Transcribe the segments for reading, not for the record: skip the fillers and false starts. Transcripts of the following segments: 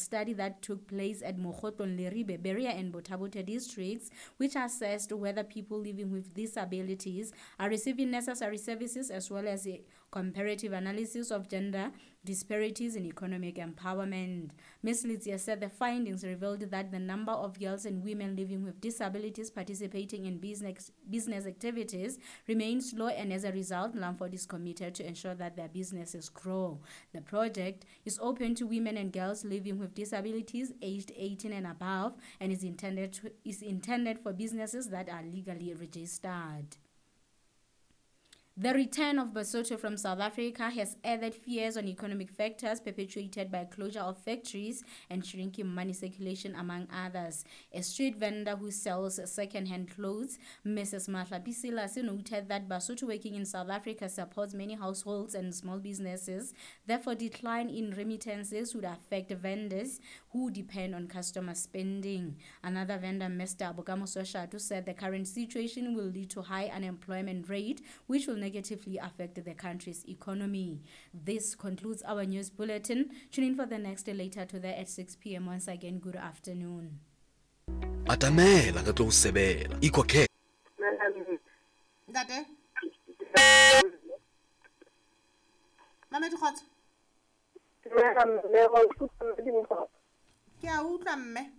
study that took place at Mokhotlong, Leribe, Berea and Botha-Bothe districts, which assessed whether people living with disabilities are receiving necessary services, as well as a comparative analysis of gender disparities in economic empowerment. Ms. Letsie said the findings revealed that the number of girls and women living with disabilities participating in business activities remains low, and as a result, Lamford is committed to ensure that their businesses grow. The project is open to women and girls living with disabilities aged 18 and above, and is intended for businesses that are legally registered. The return of Basotho from South Africa has added fears on economic factors perpetuated by closure of factories and shrinking money circulation, among others. A street vendor who sells second-hand clothes, Mrs. Mahlapi Silas, noted that Basotho working in South Africa supports many households and small businesses. Therefore, decline in remittances would affect vendors who depend on customer spending. Another vendor, Mr. Bokamoso Shatu, said the current situation will lead to high unemployment rate, which will negatively affect the country's economy. This concludes our news bulletin. Tune in for the next later today at 6 p.m. Once again, good afternoon. Atamela re tlo o sebela. Ikhokhele. Ntate Mamedi, kgotso. Dumela mme, wa nkutlwa, mme Dimpho? Ke a utlwa, mme.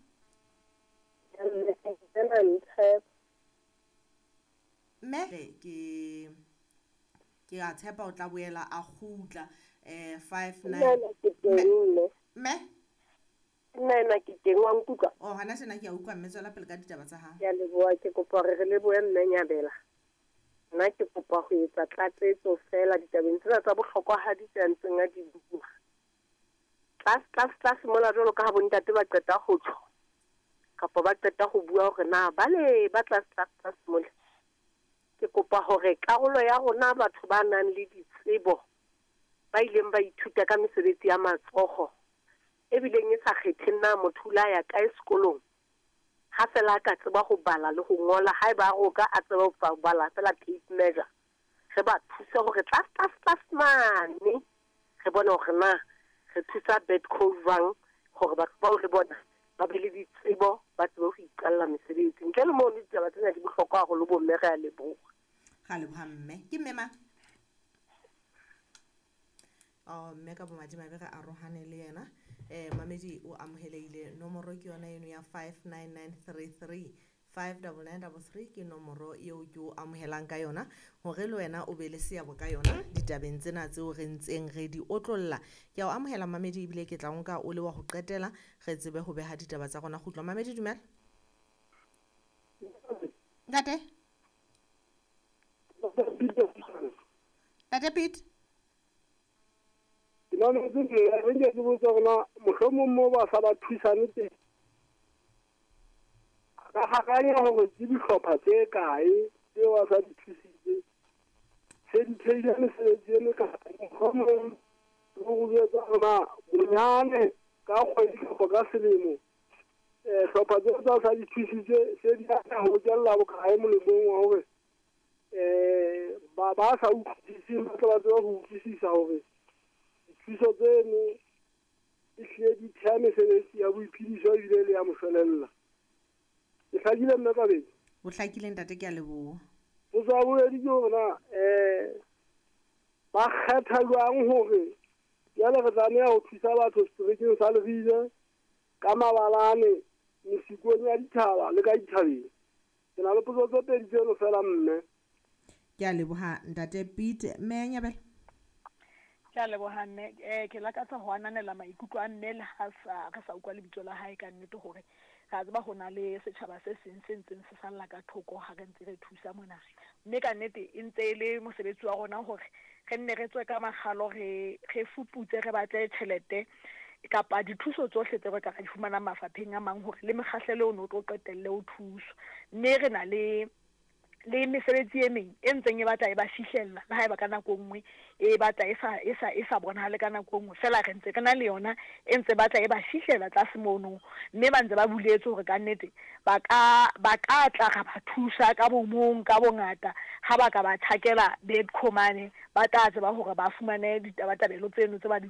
Mme, ena ntshepa. Mme, ke a tshepa o tla boela a kgutla 59. Nna ke teng, mme. Mme. Nna ena ke teng, wa nkutlwa? O hana tjena ke a utlwa, mme, tswela pele ka ditaba tsa hao. Ke a leboha. Ke kopa hore re lebohe mme Nyabela. Nna ke kopa ho etsa tlatsetso fela ditabeng tsena tsa bohlokwahadi tse a ntseng a di bua. Tlase tlase tlase mola, jwalo ka ha bontate ba qeta ho tjho kapa ba qeta ho bua hore na bale ba tlase tlase tlase mola, ke kopa hore karolo ya rona batho ba nang le ditsebo, ba ileng ba ithuta ka mesebetsi ya matsoho, ebileng e sa kgetheng na motho o la ya kae sekolong, ha fela a ka tseba ho bala le ho ngola, haeba a roka a tseba ho bala fela tape measure, re ba thuse hore tlase tlase tlase mane re bone hore na re thusa Bidco jwang hore batho bao le bona ba be le ditsebo, ba tsebe ho iqalla mesebetsi. Ntle le mono, ditaba tsena di bohlokwa haholo, bomme. Re a leboha. Ga leboha, mme. Ke mme mang? Oh, mme, ka bomadimabe re arohane le yena. Mamedi o amohelehile. Nomoro ke yona eno ya 59933, 59933 ke nomoro eo ke o amohelang ka yona hore le wena o be le seabo ka yona ditabeng tsena tseo re ntseng re di otlolla. Ke a o amohela, mamedi, ebile ke tla o nka o le wa ho qetela, re tsebe ho beha ditaba tsa rona kgutlo. Mamedi, dumela. Ntate, ntate Pete. Ke mametse, mme. Re nke ke botse hore na mohlomong moo ba sa ba thusane teng, ka hakanya hore ke dihlopha tse kae tseo a sa di thusitse, se di theile mesebetsi e mekae? Mohlomong le ho jwetsa hore na bonyane ka kgwedi kapa ka selemo, hlopha tseo tsa sa di thusitse se di atleha ho bokella bokae molemong wa hore ba sa utlwisiseng ba tle ba tsebe ho utlwisisa hore dithuso tseno e hlile di theha mesebetsi ya boiphediso ebile le ya moshwelella. Ke hlakile, mme Kabedi? O hlakile, ntate, ke a leboha. Potso ya bobedi ke hore na ba kgetha jwang hore jwale re tlameha ho thusa batho seterekeng sa Leribe, ka mabalane, mesikong ya dithaba le ka dithabeng? Ke na le potso tse pedi tseno fela, mme. Ke a leboha, ntate Pete. Mme ya Nyabela. Ke a leboha, mme. Ke lakatsa ho ananela maikutlo a mme, le ha sa re sa utlwa lebitso la hae. Ka nnete hore re a tseba ho na le setjhaba se seng se ntseng se salla ka thoko ha re ntse re thusa mona, mme ka nnete e ntse e le mosebetsi wa rona hore re nne re tswe ka makgalo, re fuputse, re batle tjhelete kapa dithuso tsohle tse re ka ra di fumanang mafapheng a mang hore le mekgahlelo ono o tlo qetelle o thuswa. Mme re na le mesebetsi e meng e ntseng e batla e ba fihlella, le haeba ka nako e nngwe e batla e sa bonahale ka nako e nngwe fela, re ntse re na le yona e ntse batla e ba fihlela tlase mono, mme ba ntse ba buletse hore ka nnete ba ka tla ra ba thusa ka bomong, ka bongata, ha ba ka ba tjhakela Bidco mane, ba tla tseba hore ba fumane ditabatabelo tseno tse ba di.